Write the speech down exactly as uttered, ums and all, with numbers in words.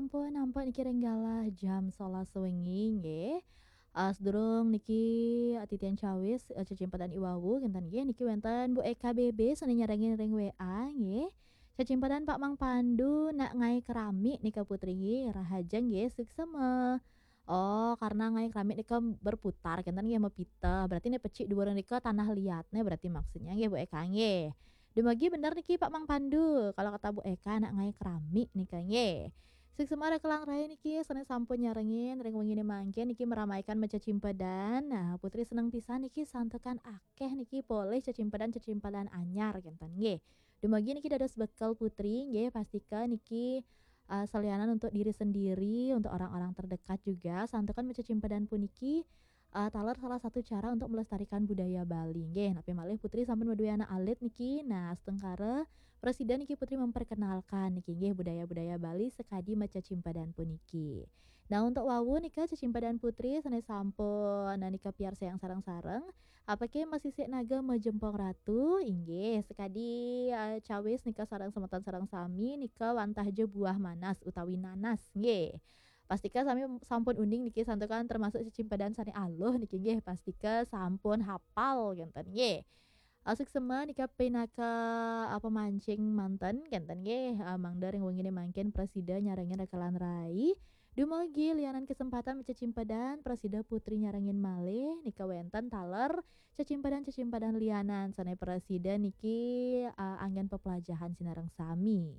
Ampun, ampun niki ring galah jam sebelas wengi nggih. Uh, sedurung niki uh, titian cawis uh, cecimpedan iwawu kinten nggih, niki wenten Bu Eka B B sane nyarengin ring W A nggih. Cecimpedan Pak Mang Pandu nak ngai keramik nika Putri nggih, rahajeng nggih, suksema. Oh, karena ngai keramik nika berputar kinten nggih, mepiteh. Berarti ne pecik dua nika tanah liat ne berarti maksudnya nggih Bu Eka nggih. Dumugi bener niki Pak Mang Pandu, kalau kata Bu Eka nak ngai keramik nika nggih. Suksema rekelan rai niki sane sampun nyarengin ring wengine mangkin niki meramaikan macecimpedan. Nah, Putri seneng pisan niki santukan akeh niki polih cecimpedan-cecimpedan anyar kinten nggih. Dumugi niki dados bekel Putri nggih, pastika niki uh, salianan untuk diri sendiri, untuk orang-orang terdekat juga, santukan macecimpedan puniki uh, taler salah satu cara untuk melestarikan budaya Bali nggih. Napi malih Putri sampun maduwe anak alit niki. Nah, astungkara prasida niki Putri memperkenalkan niki nggih budaya-budaya Bali sekadi macecimpedan puniki. Nah, untuk wawu nika cecimpedan Putri sane sampun nah nika piarsayang sareng-sareng. Apake masisik naga majempong ratu? Inggih, sekadi uh, cawis nika sareng semeton sareng sami nika wantah ja buah manas utawi nanas nggih. Pastika sami sampun uning niki santukan termasuk cecimpedan sane aluh niki nggih, pastika sampun hapal kinten nggih. Asik sema nika pinaka apa mancing manten kinten nggih. Uh, mangda ring wengine mangkin prasida nyarengin rekelan rai. Dumugi lianan kesempatan macecimpedan prasida Putri nyarengin malih nika wenten taler cecimpedan-cecimpedan lianan sane prasida niki uh, anggen pepelajahan sinareng sami.